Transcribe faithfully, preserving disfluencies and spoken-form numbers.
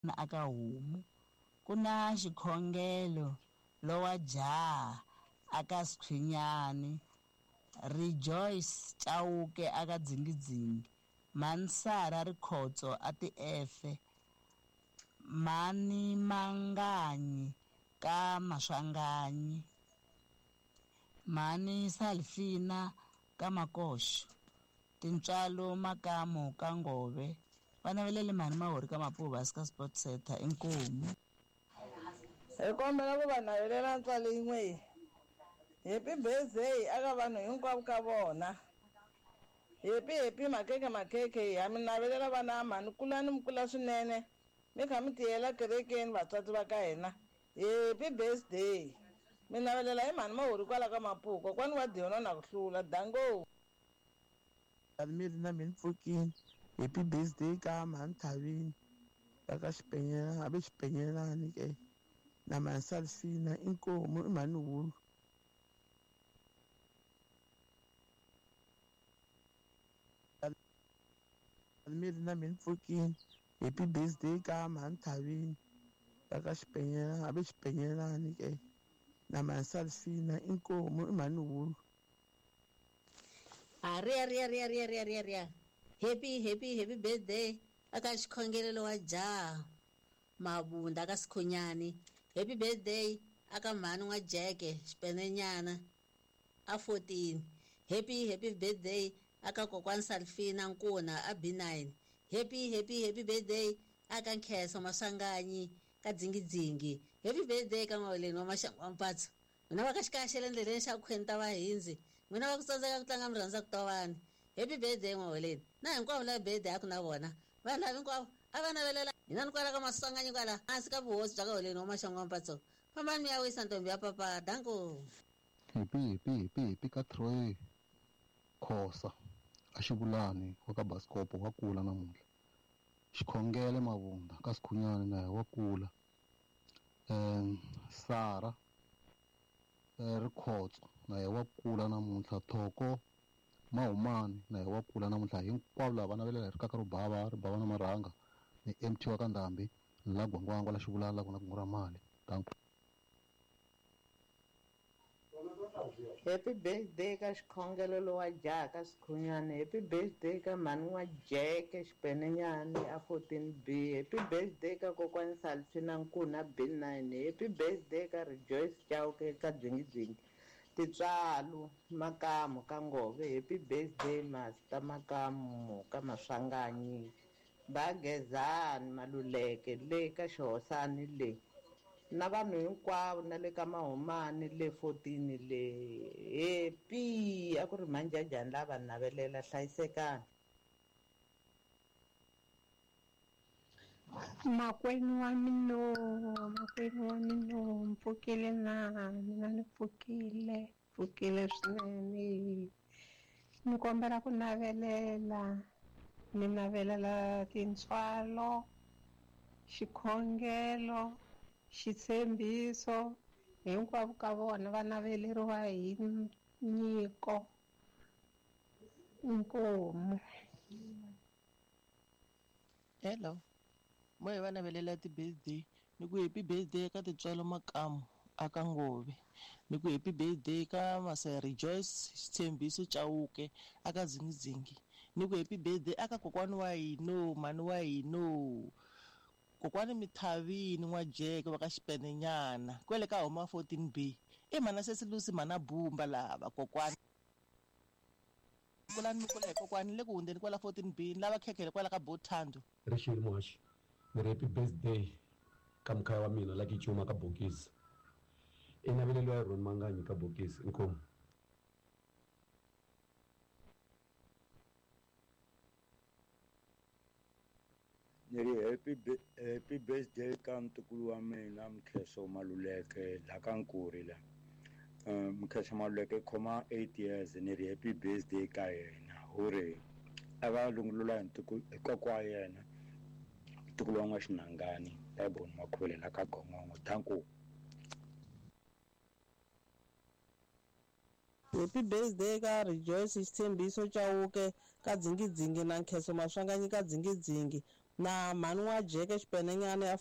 Aka homu ku na xikhongelo lowa jaha aka Skhwinyani, Rejoice Chauke aka Dzingidzingi, Mansara Rikhotso a Tiefe, Mani Manganyi ka Maswanganyi, Mani Salfina ka Makoxo, Tintswalo Makamu ka Ngove, va navelele mhani Mahori ka Mapuva ka Sport Center inkomu. Hi kombela ku va navelela ntswalo yin'we. Happy birthday aka vanhu hinkwavo ka vona. Happy happy makeke makeke ha mi navelela vana mhani kulani mi kula swinene mi kha mi tiyela kerekeni vatswatsi va ka hina. Happy birthday. Mi navelela hi mhani Mahori kwala ka Mapuva kokwani wa Diona na ku hlula dango. Miri na mina pfukini. Happy birthday ka mhani Thavini va ka Xipenyelani, a ve Xipenyelani ke na mhani Salfina inkomu i mhani Hulu. Miri na mina pfukini. Happy birthday ka mhani Thavini va ka Xipenyelani, a ve Xipenyelani ke na mhani Salfina inkomu i mhani Hulu. Aria ria ria ria ria ria ria. Happy happy happy birthday aka xikhongelelo wa jaha Mabunda ka Sikhunyani. Happy birthday aka mhani wa Jeke Xipenenyana a fourteen. Happy happy birthday aka kokwani Salfina Nkuna a B nine. Happy happy happy birthday aka Nkheso Maswanganyi ka Dzingidzingi. Happy birthday ka Maweleni wa Maxangu wa Mpatso. N'wina va ka xikaxela endleleni xa khwenta va hindzi. N'wina va ku tsandzeka ku tlanga mi rhandza ku tovani. Happy birthday Maweleni. Na hinkwavo lava birthday a ku na vona. Vanhu lava hinkwavo a va navelela hina ni kwala ka Maswanganyi kwala hansi ka vuhosi bya ka Holeni wa Maxangu wa Mpatso. Fambani mi ya wisa ntombi ya papa. Danko. Happy happy happy happy ka Troy Khosa a Xivulani wa ka Baskopo wa kula namuntlha. Xikhongele Mavunda ka Sikhunyani na wa kula. Um Sara Rikhotso na wa kula namuntlha. Thoko Mahumani na wa kula namuntlha. Hinkwavo lava navelela hi rikaka ro bava ri bava na marhanga ni M T wa ka Ndhambi la Gwangwangwa la Xivulani la ku na kungu ra mali. Danko. Happy birthday ka xikhongelo lowa jaha ka Sikhunyani. Happy birthday ka mhani wa Jeke Xipenenyani a fourteen B. Happy birthday ka kokwani Salfina Nkuna B nine. Happy birthday ka Rejoice Chauke ka Dzingidzingi. Titswalo Makamu ka Ngove. Happy birthday Master Makamu ka Maswanganyi. Bagezani Maluleke le ka Xihosani le. Na vanhu hinkwavo na le ka Mahumani le fourteen le. Happy a ku ri manjajani lava navelela hlayisekani. Makwenu wa mina, makwenu wa mina, mpfukile na mina ni pfukile, pfukile swinene. Ni kombela ku navelela, ni navelela tintswalo, xikhongelo, xitshembiso, hinkwavo ka vona va naveleriwa hi nyiko inkomu. Hello. Mo hi va navelela ti-birthday ni ku happy birthday ka Tintswalo Makamu aka Ngove, ni ku happy birthday ka Masa Rejoice Xitshembiso Chauke aka Dzingidzingi, ni ku happy birthday aka kokwani wa hino mhani wa hino kokwani Mithavini n'wa Jeke va ka Xipenenyana kwele ka homa fourteen B. I mhana Sesilusi mhana Bumba lava kokwani kulani mi kula hi kokwani le ku hundzeni kwala fourteen B ni lava khekhele kwala ka Bothando. Rixile muhaxi ni ri happy birthday ka mukhaya wa mina la Kichuma ka Bokisi. I naveleliwa hi Ron Manganyi ka Bokisi. Inkomu. Ni ri happy happy birthday ka ntukulu wa mina Mkheso Maluleke la ka Nkuri la. Mkheso Maluleke khoma eight years ni ri happy birthday ka yena hore a va lungulula hi ntukulu hi kokwa wa yena ntukulu wa N'wa-Xinangani Tybon Makhuvele la ka Gongongo. Thank you. Happy birthday ka Rejoice Xitshembiso Chauke ka Dzingidzingi na Nkheso Maswanganyi ka Dzingidzingi. Na mhani wa Jeke Xipenenyana ya